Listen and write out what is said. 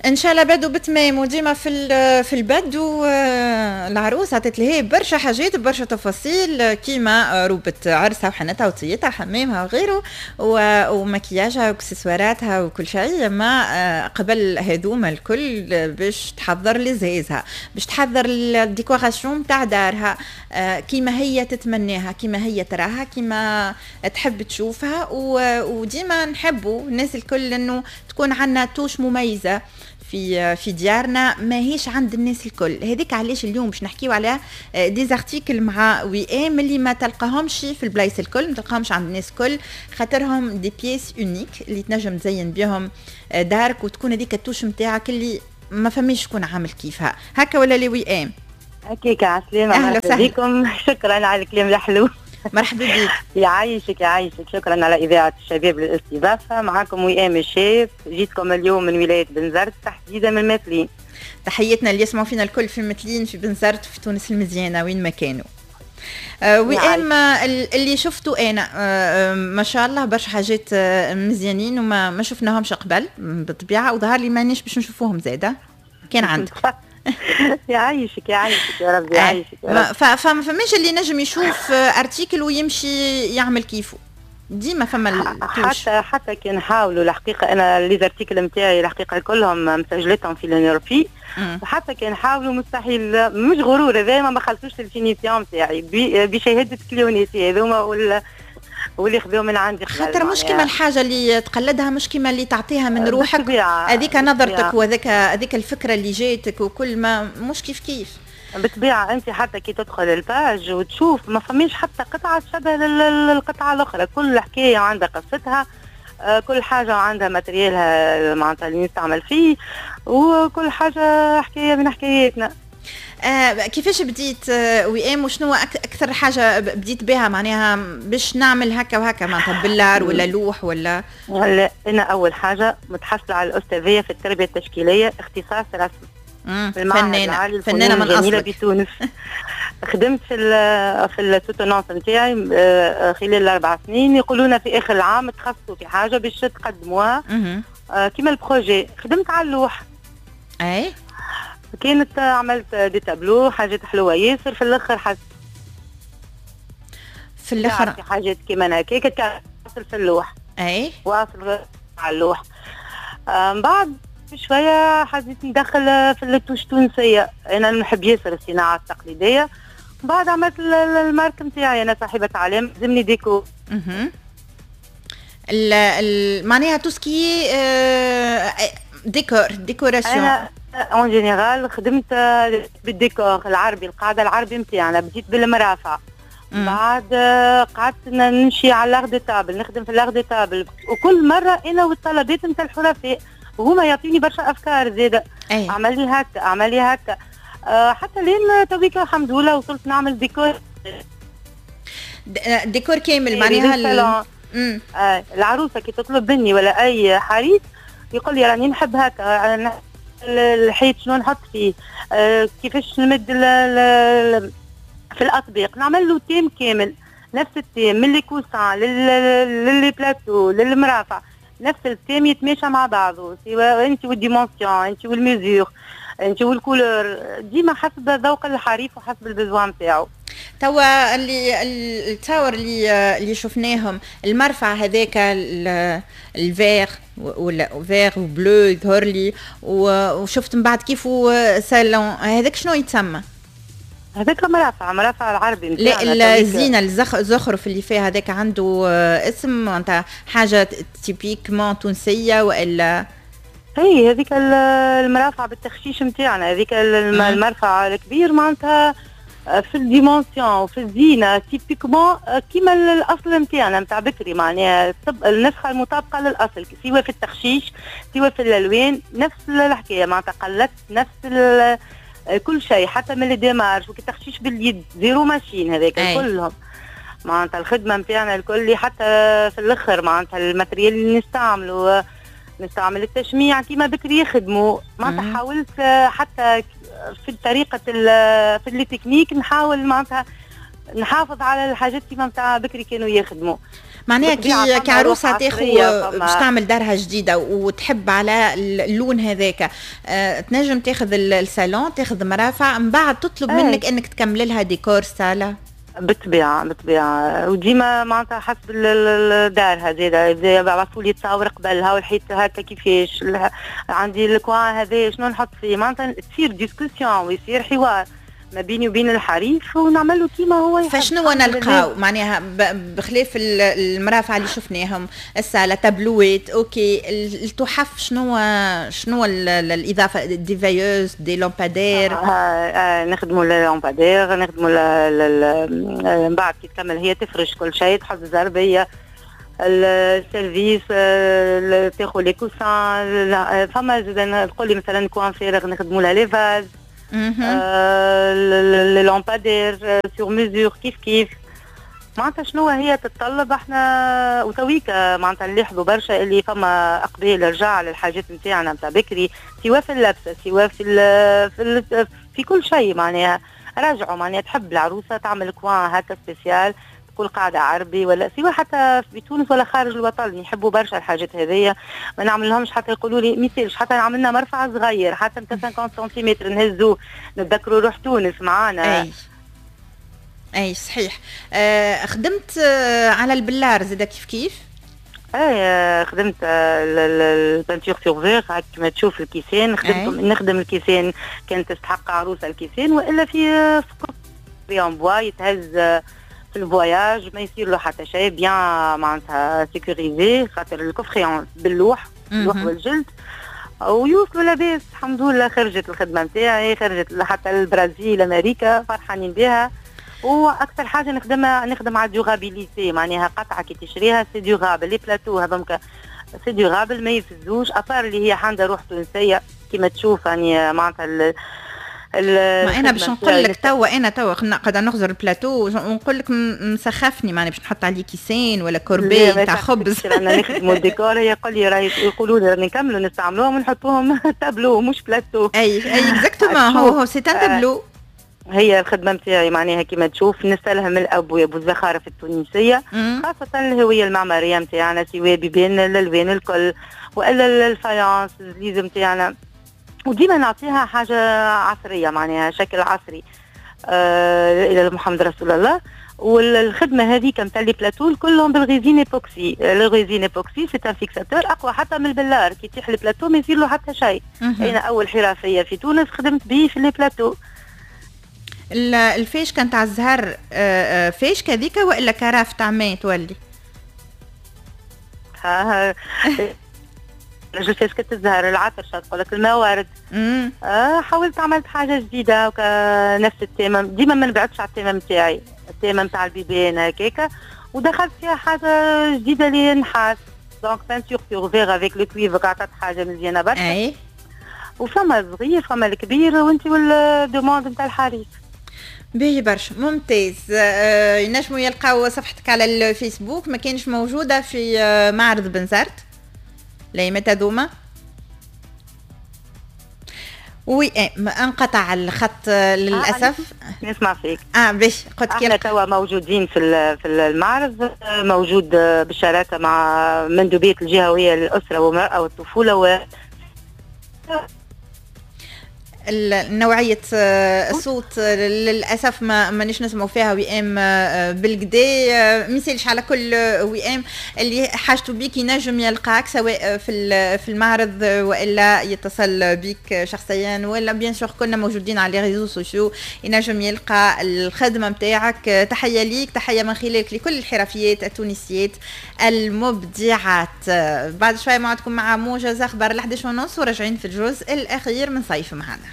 ان شاء الله بدو بتمام وديما في البدو. العروس عطت لها برشا حاجات، برشا تفاصيل، كيما روبة عرسها وحنتها وطيتها حمامها وغيره ومكياجها واكسسواراتها وكل شيء. ما قبل هذوما الكل باش تحضر لزهازها، باش تحضر ال décoration تاع دارها كيما هي تتمناها، كيما هي تراها، كيما تحب تشوفها. وديما نحبوا الناس الكل انه تكون عندنا touche مميزة في ديارنا ماهيش عند الناس الكل. هذيك علاش اليوم باش نحكيو على des articles مع وئام اللي ما تلقاهمش في البلايص الكل، ما تلقاهمش عند الناس الكل، خاطرهم des pièces uniques اللي تنجم تزين بهم دارك وتكون هذيك ال touche نتاعك اللي ما فماش شكون عامل كيفها. هكا ولا لي وئام؟ هكاك. عسلامة. أهلا وسهلا. بكم، شكرا على الكلام الحلو. مرحبا بك. يعيشك يعيشك، شكرا على إذاعة الشباب للاستضافة. معكم وئام الشاف، جيتكم اليوم من ولاية بنزرت، تحديدا من متلين. تحياتنا اللي يسمعوا فينا الكل في متلين، في بنزرت، في تونس المزيانة، وين ما كانوا. وئام، اللي شفته انا ما شاء الله برشا حاجات مزيانين وما ما شفناهمش قبل بالطبيعه، وظهر لي مانيش باش نشوفوهم زاده كان عندك. يعيشك يعيشك يا ربي، يعيشك يا رب. فما فماش اللي نجم يشوف article ويمشي يعمل كيفه، ديما فما ال touche. حتى كي نحاولوا، الحقيقة انا les articles نتاعي الحقيقة كلهم مسجلتهم في l'INNORPI، وحتى كي نحاولوا مستحيل، مش غرور هذا، ما خلطوش ال finition نتاعي بشهادة client اتي هذوما واللي خذوه من عندي. خاطر مش كيما الحاجة اللي تقلدها، مش كيما اللي تعطيها من روحك، هذيك نظرتك وهذاك هذيك الفكرة اللي جاتك وكل ما مش كيف كيف. بالطبيعه، انت حتى كي تدخل ال page وتشوف ما فماش حتى قطعه تشبه القطعة الاخرى. كل حكاية عندها قصتها، كل حاجة عندها matériel ها معناتها اللي نستعمل فيه، وكل حاجة حكاية من حكاياتنا. كيفاش بديت وئام؟ وشنو اكثر حاجة بديت بها، معناها باش نعمل هكا وهكا، معناتها بلار ولا لوح ولا؟ ولا انا اول حاجة متحصله على الاستاذيه في التربية التشكيليه، اختصاص رسم. فنانه، فنانة من اصلك. بتونس خدمت في ال soutenance نتاعي خلال ال4 سنين. يقولون في اخر العام تخصصوا في حاجة باش تقدموها كيما ال projet. خدمت على اللوح. كانت عملت des tableaux، حاجات حلوة ياسر. في الاخر حس في الاخر في حاجات كيما هكاك في اللوح. واصل على اللوح. من بعد شوية حبيت ندخل في ال touche التونسيه، انا نحب ياسر الصناعة التقليديه. بعد عملت ال marque نتاعي، انا صاحبه علامة زمني ديكو. معناها tout ce qui décor، décoration. انا en général خدمت بالديكور العربي، القاعدة العربي نتاعنا. بديت بالمرافع، بعد قعدت نمشي على l'art de table، نخدم في l'art de table، وكل مرة انا والطلبات نتاع الحرفاء، وهما يعطيني برشا افكار زاده. اعمل لي هكا، اعمل لي هكا، حتى لين تويكا الحمد لله وصلت نعمل ديكور. ديكور كامل معناها. العروسة كي تطلب مني ولا اي حريف يقول لي راني نحب هكا، الحيط شنو نحط فيه، كيفاش نمد في الاطباق، نعمل له thème كامل، نفس ال thème من les coussins ل les plateaux للمرافع، نفس ال thème يتماشى مع بعضه، سواء انت وال dimensions، انت وال mesures، انت وال couleur، ديما حسب ذوق الحريف وحسب ال besoin نتاعو. توا اللي التصاور اللي شفناهم، المرفع هذاك ال vert ولا vert و bleu يظهر لي، وشفت من بعد كيفو سالون، هذاك شنو يتسمى؟ هذاك مرافع، مرافع العربي. لا، الزينه، الزخرف اللي فيها هذاك عنده اسم، معناتها حاجة typiquement تونسية والا؟ اي، هذيك المرافع بالتخشيش نتاعنا، هذيك المرفع الكبير، معناتها في ال dimensions وفي الزينة typiquement كيما الاصل نتاعنا نتاع بكري، معناها النسخة المطابقة للاصل، سواء في التخشيش سواء في الالوان، نفس الحكايه، معناتها قلدت نفس كل شيء، حتى من les démarches وكي باليد، zéro machine هذاك. كلهم معناتها الخدمة نتاعنا الكل، حتى في الاخر معناتها ال matériel اللي نستعمله، نستعمل التشميع كيما بكري يخدموا. معناتها حاولت حتى في طريقه في les techniques نحاول معناتها نحافظ على الحاجات كيما نتاع بكري كانوا يخدموا. معناها كي عروسه تاخذ باش تعمل دارها جديدة وتحب على اللون هذاك، تنجم تاخذ الصالون، تاخذ مرافع، من بعد تطلب منك انك تكمل لها ديكور صاله. بالطبيعة بالطبيعه، وديما معناتها حسب الدار هذا، يبعثوا لي تصاور قبلها والحيط هكا كيفاش عندي ال coin هذا شنو نحط فيه، معناتها تصير discussion ويصير حوار ما بيني وبين الحريف ونعمل له كيما هو يحب. فشنو نلقاو معناها بخلاف المرافع اللي شفناهم، السالة، تابلوات، OK، التحف، شنو الاضافه؟ des veilleuses، des lampadaires؟ نخدموا lampadaires، نخدموا من بعد كي تكمل هي تفرش كل شيء، تحط الزربيه، ال service، تاخذ les coussins. فما زاد تقول لي مثلا coin فارغ نخدموا لها les vases، les lampadaires sur mesure كيف كيف. معناتها شنو هي تتطلب احنا وتويكا معناتها نلاحظوا برشا اللي فما اقبال رجع للحاجات نتاعنا نتاع بكري، سواء في اللبسه سواء في كل شيء. معناها رجعوا، معناها تحب العروسة تعمل coin هكا spécial، تقول قاعدة عربي ولا سواء حتى في تونس ولا خارج الوطن يحبوا برشا الحاجات هذيا. ما نعمل لهمش حتى يقولوا لي ميسالش حتى عملنا مرفع صغير حتى نتاع 50 سنتيمتر نهزو نتذكروا روح تونس معانا. اي صحيح. خدمت على البلار زاده كيف كيف؟ اي، خدمت ال peinture sur verre كما تشوف الكيسان خدمت. نخدم الكيسان كانت تستحق عروسه الكيسان، والا في en bois يتهز في ال voyage ما يصير له حتى شيء، bien معناتها sécurisé خاطر ال coffret باللوح، اللوح والجلد، ويوصلوا لاباس الحمد لله. خرجت الخدمة نتاعي، خرجت حتى البرازيل، امريكا، فرحانين بها. واكثر حاجة نخدمها نخدم على durabilité، معناها قطعه كي تشريها c'est durable. les plateaux هذوك c'est durable ما يفسدوش، à part اللي هي عندها روح تونسية كما تشوف، يعني معناتها ما انا باش نقول لك توا، انا توا قاعدة نخزر البلاتو ونقول لك مسخفني، معناها باش نحط عليه كيسين ولا corbeille تاع خبز. انا نخدموا الديكور، يقول لي راهي يقولوا لي نكملوا نستعملوهم ونحطوهم تابلو مش بلاتو. اي exactement، هو c'est un tableau. هي الخدمة نتاعي معناها كما تشوف نستلهم الابواب والزخارف التونسيه، خاصة الهوية المعمارية نتاعنا، سواء بيبان الالوان الكل والا ال faïence، الزليز نتاعنا، وديما نعطيها حاجة عصريه، معناها شكل عصري الى محمد رسول الله. والخدمة هذه نتاع les plateaux كلهم بال résine époxy. ال résine époxy c'est un fixateur اقوى حتى من البلار، كي يطيح البلاتو ما يصير له حتى شيء. انا اول حرفية في تونس خدمت به في les plateaux. الفيش كانت على الزهر، فيش كذيك والا carafe تاع ماء تولي؟ ها فيش الزهر العطر تقول لك الموارد. حاولت عملت حاجة جديدة نفس ال thème، ديما ما نبعدش على ال thème نتاعي، ال thème نتاع البيبان هكاكا، ودخلت فيها حاجة جديدة اللي نحاس، donc peinture sur verre avec le cuivre عطات حاجة مزيانه برشا. وفما الصغير فما الكبير، وانت وال demande نتاع الحريف. باهي برشا، ممتاز. ينجموا يلقاو صفحتك على الفيسبوك، ما كانش موجودة في معرض بنزرت لايمت هذوما؟ oui انقطع الخط للاسف. نسمع فيك. اه باش قلت احنا توا موجودين في المعرض، موجود بالشراكة مع مندوبيه الجهوية للاسرة والمراة والطفوله و نوعية الصوت للأسف ما مانيش نسمعوا فيها وئام بالقدا. ميسالش، على كل وئام اللي حاجته بيك ينجم يلقاك سواء في المعرض والا يتصل بيك شخصيا، ولا bien sûr كنا موجودين على les réseaux sociaux ينجم يلقى الخدمة نتاعك. تحية ليك، تحية من خلالك لكل الحرفيات التونسيات المبدعات. بعد شوية موعدكم مع موجز أخبار 11 ونص، وراجعين في الجزء الأخير من صيف معنا.